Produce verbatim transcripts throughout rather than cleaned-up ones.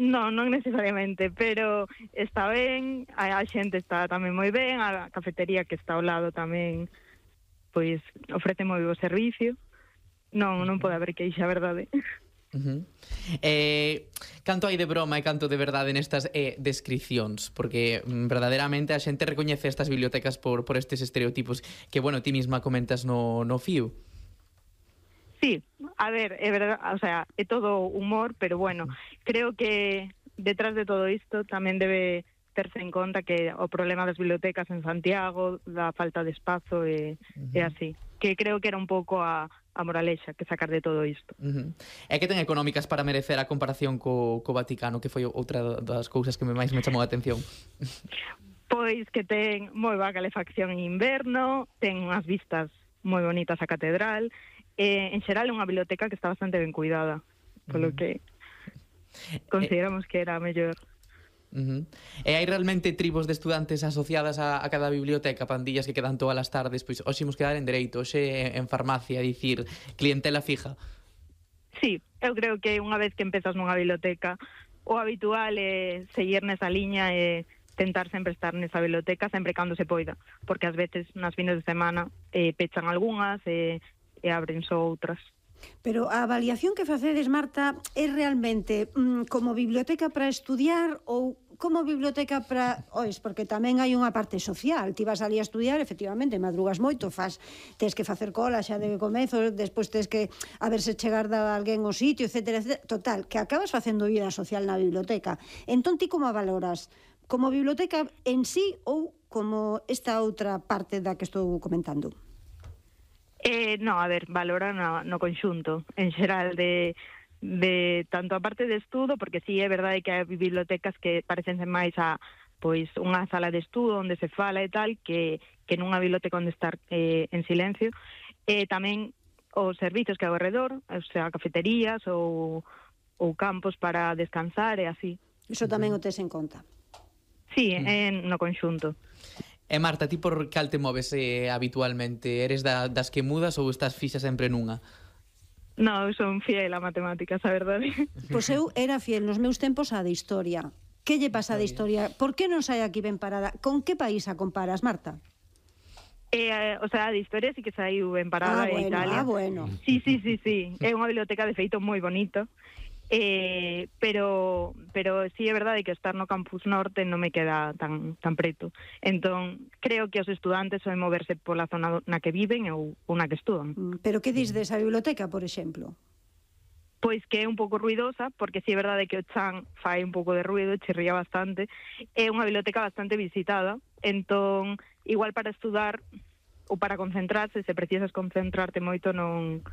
Non, non necesariamente, pero está ben, a, a xente está tamén moi ben, a cafetería que está ao lado tamén, pois, ofrece moi bo servicio. Non, non pode haber queixa, a verdade. Uh-huh. Eh, canto hai de broma e canto de verdade nestas eh, descripcións, porque mm, verdadeiramente a xente recoñece estas bibliotecas por, por estes estereotipos que, bueno, ti misma comentas no, no fío. Sí, a ver, é verdade, o sea, é todo humor, pero bueno, creo que detrás de todo isto tamén debe terse en conta que o problema das bibliotecas en Santiago, da falta de espazo e, uh-huh. e así, que creo que era un pouco a a moralexa que sacar de todo isto. Uh-huh. É que ten económicas para merecer a comparación co, co Vaticano, que foi outra das cousas que me máis me chamou a atención. Pois que ten moi boa calefacción en inverno, ten unhas vistas moi bonitas a catedral, e en xeral é unha biblioteca que está bastante ben cuidada, polo uh-huh. que consideramos eh... que era a mellor. Uh-huh. E hai realmente tribos de estudantes asociadas a, a cada biblioteca, pandillas que quedan todas as tardes, pois hoxe imos quedar en dereito, hoxe en farmacia, dicir, clientela fija. Sí, eu creo que unha vez que empezas nunha biblioteca, o habitual é seguir nesa liña e tentar sempre estar nesa biblioteca sempre cando se poida, porque ás veces nas fines de semana eh, pechan algunhas e, e abren só outras. Pero a avaliación que facedes, Marta, é realmente mm, como biblioteca para estudiar ou como biblioteca para... Ois, porque tamén hai unha parte social. Ti vas ali a estudiar, efectivamente, madrugas moito, faz, tes que facer cola xa de comezo, despois tes que a ver se chegar da alguén ao sitio, etcétera, etcétera. Total, que acabas facendo vida social na biblioteca. Entón, ti como a valoras? Como biblioteca en sí ou como esta outra parte da que estou comentando? Eh, no, a ver, valora no, no conxunto, en xeral de, de tanto a parte de estudo, porque sí, é verdade que hai bibliotecas que parecense máis a pois unha sala de estudo onde se fala e tal, que, que nunha biblioteca onde estar eh, en silencio, e eh, tamén os servizos que hai ao redor, o sea, cafeterías ou, ou campos para descansar e así. Iso tamén o tes en conta? Sí, en, no conxunto. E Marta, ti por cal te moves eh, habitualmente? Eres da, das que mudas ou estás fixa sempre nunha? No, eu son fiel a matemáticas, a verdade. Pois eu era fiel nos meus tempos a de historia. Que lle pasa de historia? Por que non sai aquí ben parada? Con que país a comparas, Marta? Eh, o sea, de historia sí que saiu ben parada ah, en bueno, Italia. Ah, bueno. Sí, sí, sí, sí. É unha biblioteca de feito moi bonito. Eh, pero pero sí é verdade que estar no campus norte non me queda tan tan preto. Entón, creo que os estudantes soen moverse pola zona na que viven ou, ou na que estudan. Pero que dis desa biblioteca, por exemplo? Pois que é un pouco ruidosa, porque sí é verdade que o chan fai un pouco de ruido, chirría bastante. É unha biblioteca bastante visitada, entón, igual para estudar ou para concentrarse, se precisas concentrarte moito, non,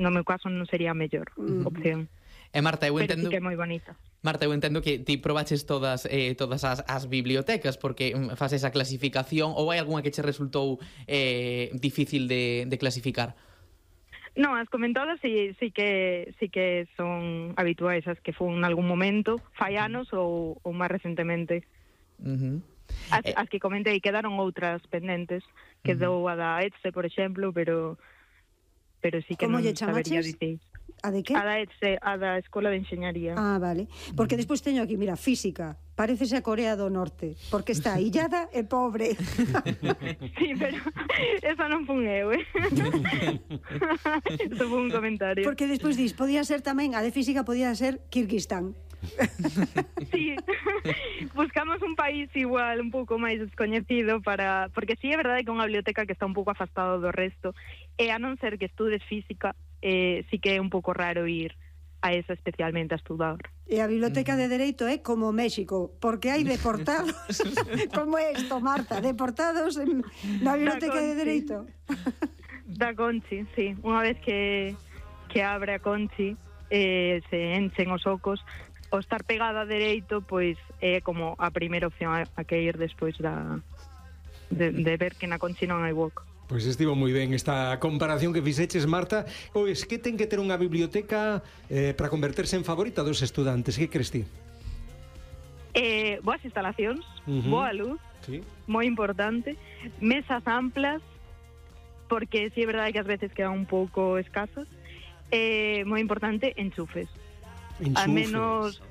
no meu caso non sería a mellor mm. opción. E Marta, eu entendo... Pero sí que é moi bonita. Marta, eu entendo que ti probaches todas eh, todas as, as bibliotecas porque faz esa clasificación, ou hai algunha que che resultou eh, difícil de, de clasificar? Non, as comentadas sí, sí que sí que son habituais, as que fun en algún momento, fai anos ou, ou máis recentemente. Uh-huh. As, eh... as que comentei, quedaron outras pendentes, quedou uh-huh. a da ETSE, por exemplo, pero pero sí que non sabería dicir. A de que? A da ETSE, a da Escola de Enxeñaría. Ah, vale. Porque despois teño aquí, mira, física. Parécese a Corea do Norte, porque está illada e pobre. Sí, pero esa non fun eu, eh? Eso foi un comentario. Porque despois dis, podía ser tamén, a de física podía ser Kirguistán. Sí, buscamos un país igual, un pouco máis descoñecido para... Porque sí é verdade que é unha biblioteca que está un pouco afastado do resto, e a non ser que estudes física, eh, sí que é un pouco raro ir a esa especialmente a estudar. E a biblioteca de Dereito é como México, porque hai deportados. Como é isto, Marta? Deportados en, na biblioteca de Dereito. Da Conchi, sí. Unha vez que, que abre a Conchi, eh, se enchen os ocos, o estar pegada a Dereito, pois é como a primeira opción a, a que ir despois da, de, de ver que na Conchi non hai hueco. Pois estivo moi ben esta comparación que fixeches, Marta. Pois que ten que ter unha biblioteca eh, para converterse en favorita dos estudantes? Que crees ti? Eh, boas instalacións, uh-huh. boa luz, sí. Moi importante, mesas amplas, porque si sí é verdade que ás veces quedan un pouco escasas, eh, moi importante, enchufes. Enchufes. Al menos